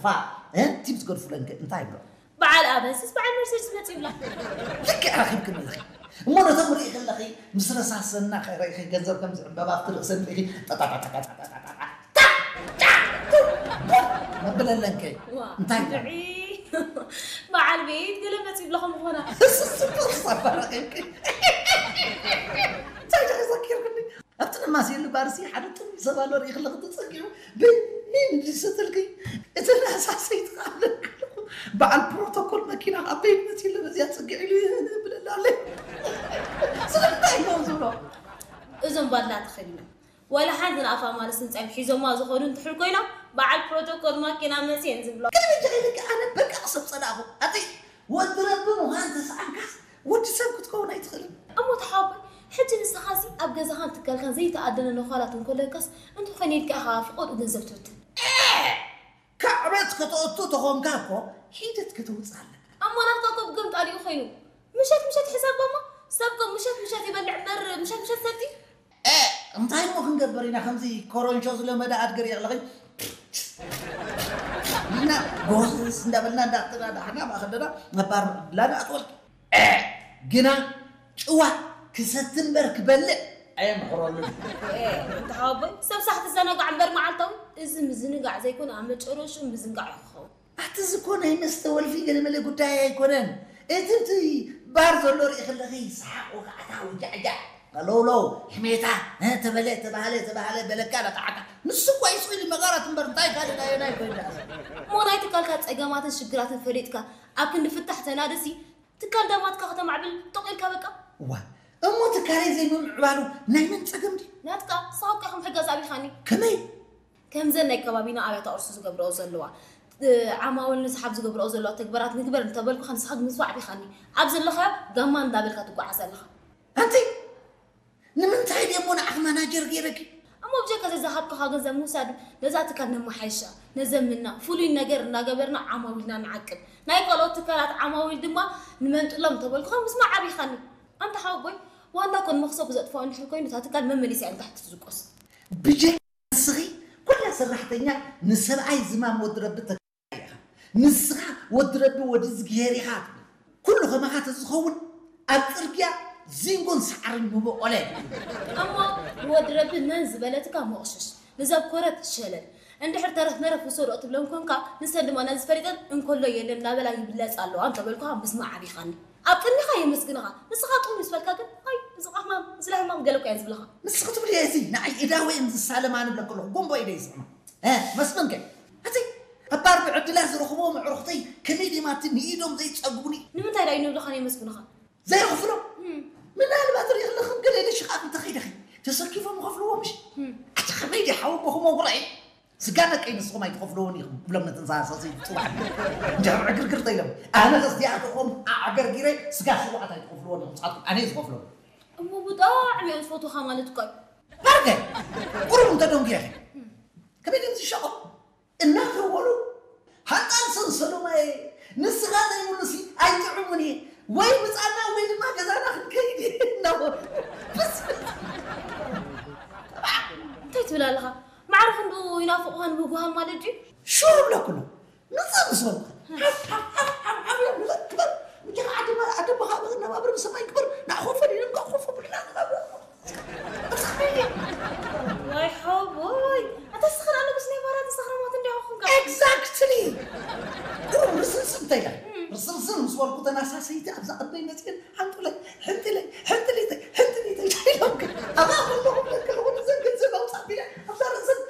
ፋ እ ቲፕ ዝገድፉለን ከ እንታይ ይብሎ? በዓል ኣበንስስ በዓል መርሴድስ መፂ ይብላ። ልክዕ ረኺብክን ኣለኺ። እሞ ነቶም ርኢ ከለኺ ምስ ረሳሰና ኸ ርኢኺ ገንዘብ ከምዚ ዕምበባ ኣብቲ ርእሰን ርኢኺ ጠጣጣጣጣጣጣጣጣ መብለለን ከ ዋ፣ እንታይ ይብላ? ድዒ። በዓል ቤት ገለ መፂ ይብላ ከም ዝኾና። ስስስስስ ኣባራኺብኪ። እንታይ ዲኺ ዘኪርክኒ? ኣብቲ ነማስየሉ ባርሲ ሓደ ጥም ሰብ ኣሎ ርኢ ከለኺ ተጸጊዑ በይን ዝሰተልኪ እቲ ናሳሰይ ትቃለል ከለኹ በዓል ፕሮቶኮል መኪና ኣብ በይን መፂ ኣሎ በዚኣ ጸጊዑ ኢሉ ብለላ ኣሎ። ስለምንታይ እዮም ዝብሎ? እዞም ባድላ ተኸዲኖም ወላ ሓንቲ ንኣፋ ማለስ ንፀም ሒዞማ ዝኾኑ እንትሕር ኮይኖም በዓል ፕሮቶኮል ማኪና መፅየን ዝብሎ። ግን ብጀይ ልክ ኣነ በቃ ክሰብ ጸዳኹ ኣቲ ወዲ ረቢ ምዃን ተሰኣንካስ ወዲ ሰብ ክትከውን ኣይትኽእልን። እሞ ተሓቦይ ሕጂ ንስኻሲ ኣብ ገዛኻን ትካልካን ዘይተኣደነ ነዃላት እንኮለካስ እንተኾይነ ኢልካ ኢኻ ፍቆድኡ ገንዘብ ትብትን። ካዕበት ከተእቱ ተኾንካ እኮ ሒደት ከተውፅእ ኣለካ። ኣሞ ናትካ ኮ ብገምጣሊኡ ኮይኑ ምሸት ምሸት ሕሳብ እሞ ሰብ ኮ ምሸት ምሸት ይበልዕ እምበር ምሸት ምሸት ሰቲ እ፣ እንታይ እሞ ክንገብር ኢና ከምዚ ኮረንሾ ዝለመደ ኣድገር የቕለኸኝ እና ጎስስ እንዳበልና እንዳተዳዳሕና ማእኸል ደና ነባር ላዳ ኣትወልቂ እ፣ ግና ጭዋ ክሰቲ እምበር ክበልዕ ኣየምሕረሉን። እንተሓወቦይ ሰብ ሳሕ ትዘናጋዕ እምበር መዓልታዊ እዚ ምዝንጋዕ ዘይኮነ ኣብ መጨረሹ ምዝንጋዕ እዩ ክኸውን። ኣቲ ዝኮነ ይመስተ ወልፊ ገለመለ ጉዳይ ኣይኮነን። እቲ እቲ ባር ዘሎ ርኢ ከለኺ ሰሓቕ ወጋዕታ ውጃዕጃዕ ቀለውለው ሕሜታ እ፣ ተበለ ተባህለ ተባህለ በለካ ለቃዓካ ንሱ እኳ ይስኢሉ መቐረት እምበር እንታይ ካልእ ናየናይ ኮይና እሞ ናይ ትካልካ ፀገማትን ሽግራትን ፈሊጥካ ኣብ ክንዲ ፍታሕ ተናደሲ ትካል ዳማትካ ከተማዕብል ጥቕ ኢልካ በቃ እዋ እሞ ትካለይ ዘይምምዕባሉ ናይ መን ፀገም ድዩ? ናትካ ንስኻ እኮ ኢኻ ምሕጋዝ ኣቢኻኒ። ከመይ? ከምዘን ናይ ከባቢና ኣብያተ ቅርሲ ዝገብርኦ ዘለዋ ዓማውል ንስሓብ ዝገብርኦ ዘለዋ ተግባራት ንግበር እንተበልኩኻ ንስኻ ግምዝባ ኣዕቢኻኒ። ኣብ ዘለኻዮ ጋማ እንዳበልካ ትጓዓዝ ኣለኻ። ኣንቲ ንምንታይ ድየ እሞ ንዓኺ ማናጀር ገይረኪ? እሞ ብጀካ ዘዝሃብኩኻ ገንዘብ ምውሳድ ነዛ ትካል ነመሓይሻ፣ ነዘምና፣ ፍሉይ ነገር እናገበርና ዓማዊልና ንዓቅብ። ናይ ካልኦት ትካላት ዓማዊል ድማ ንመንጥሎም እንተበልኩኻ ምስማዕ ኣቢኻኒ። ኣንታ ሓወቦይ ዋና ኮን መኽሰቡ ዘጥፍኦ እንድሕር ኮይኑ እታ ትካል መመሊሳ እያ ንታሕቲ ትዝቆስ። ብጀካ ንስኺ ኩላ ሰራሕተኛ ንሰብኣይ ዝማም ወዲ ረቢ ተካኢ ኢኻ። ንስኻ ወዲ ረቢ ወዲ እዝግሄር ኢኻ ትብል። ኩሉ ከማኻ ተዝኸውን ኣብ ጽርግያ ዚንጎን ሳዕርን ምበቆለ። እሞ ንወዲ ረቢ መን ዝበለትካ ሞቕሽሽ ንዘብኮረት ሸለል እንድሕር ተረፍ መረፍ ውሰዶ ትብለን ኮንካ ንሰን ድማ ነዚ ፈሊጠን እንኮሎ የለን እናበላ ይብለጽ ኣለዋ እንተበልኩኻ ምስማዕ ኣቢኻኒ። ኣብ ቅድሚኻ የመስግንኻ ንስኻ ጥዑም ምስ በልካ ግን ኣይ እዚ ቃሕማም እዚ ለሕማም ገለ እኮ እየን ዝብልኻ። ንስኺ ትብልዮ እዚ ንዓይ እዳወ እየን ዝሳለማ ንብለኪ ኣለኹ ጎንቦ ኢደ ይስዕማ። እ መስፍን ከ እቲ ኣባር ብዕድላ ዝረኽብዎም ኣዕሩኽተይ ከመይ ድዮም ኣቲ ንኢዶም ዘይጸግቡኒ? ንምንታይ ደኣ እዩ ንብልኻን የመስግኑኻ? ዘይኽፍሎም ምናልባት ርኢ ኣለኽን ገለ ኢለ ሽቓቕ እንተኸይደኺ ተሰኪፎም ይኸፍልዎ ምሽ? ኣቲ ከመይ ድዩ ሓወቦኹም ኣጉራዒ? ስጋ ደቀይ ንስኹም ኣይትኸፍልዎን ኢኹም ክብሎም ነተን ሰሰይቲ ጽባሕ እንጀራ ዕግርግር ተኢሎም ኣነ ከስቲኣትኹም ኣዕገርጊረ ስጋ ሽዋዓት ኣይትኸፍልዎን ኢኹም ንስኻትኩም ኣነ ዝኸፍሎም እሞ ብጣዕሚ እዮም ዝፈትውኻ ማለት እኮ እዩ። ባርገ ቁሩብ እንተ ደንጉየኺ ከመይ ድዮም ዝሸቆ እናተወሉ ሃጣን ሰንሰሉማየ ንስኻ ዘይብሉሲ ኣይጥዕሙን እየ ወይ ምጻና ወይ ድማ ገዛና ክንከይድ እየ እናበሉ እንታይ ትብል ኣለኻ? ማዕረ ክንዱ ይናፍቑኻን ምጉሃን ማለት ድዩ? ሹር እብለኩ ኣሎ ምጻእ ምስ በልኩ ሓብሓብሓብሓብ እዮም ንዘክበር ብጀኻ ዓዲ ዓደቦኻ ብዝነባብር ብሰማይ ክበር ንኣኾፈ ድዮም ከኾፈ ብልና ንነብር ዋይ ሓወቦይ ኣታ ስኽር ኣለኩስ ናይ ባራት ሰኽራማት እንዲያ ኹንካ Exactly! ቁሩብ ርስንስን እንተ ኢላ ርስንስን ምስ በልኩ ተናሳሰይቲ ኣብዛ ቅድመይ መፅየን ሓንጡለይ ሕንጥለይ ሕንጥሊተይ ሕንጥሊተይ ኢሎም ኣባ ከለኹም ለክልኹም እዘን ገንዘብ ኣውፃእ ቢለ ኣብዛ ርእሰን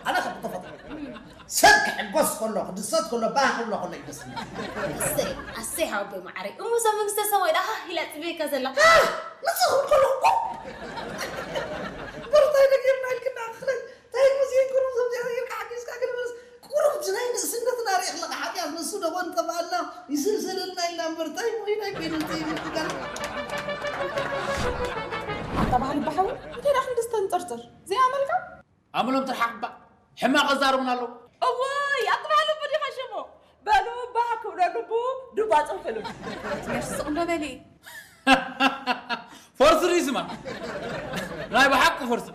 ኣነ ከም ተፈጥሮ ሰብ ክሕጎስ ከሎ ክድሰት ከሎ ባህ ክብሎ ከሎ እዩ ደስ ዝብል። ኣሰይ ኣሰይ ሓወቦይ መዓረይ እሞ እዛ መንግስተ ሰማይ ደኣ ሃህ ኢላ ትብየካ ዘላ። ንስኹም ከለኹም በርታይ ነጊርና ኢልክና ክኽለይ እንታይ ሙዚየም ቁሩብ ዘምዚኣ ጌርካ ሓጊዝካ ግን በለስ ቁሩብ ናይ ንእስነትና ርኢ ኣለኻ ሓጢኣት ንሱ ደጎን ጠፋኣልና ይስልስለልና ኢልና እምበር እንታይ ሞይና ይኮይኑ እንታይ ይብል ትጋል ኣታ ባህሊ ባሓዊ እንታይ ደኣ ክንዲ ዝተንጠርጥር ዘይኣመልካ ኣምሎም ትርሓቕ እባ ሕማቕ ኣዛርቡና ኣለዉ። እዋይ ኣጥባሉ ብዲኻ ሽሙ በሉ እባ ክብለሉ ቡ ዱባ ጽንፍሉ። ነርሲ ስቕ እንዶ በሊ። ፈርሲ ድዩ ስማ? ናይ ብሓቂ ፈርሲ።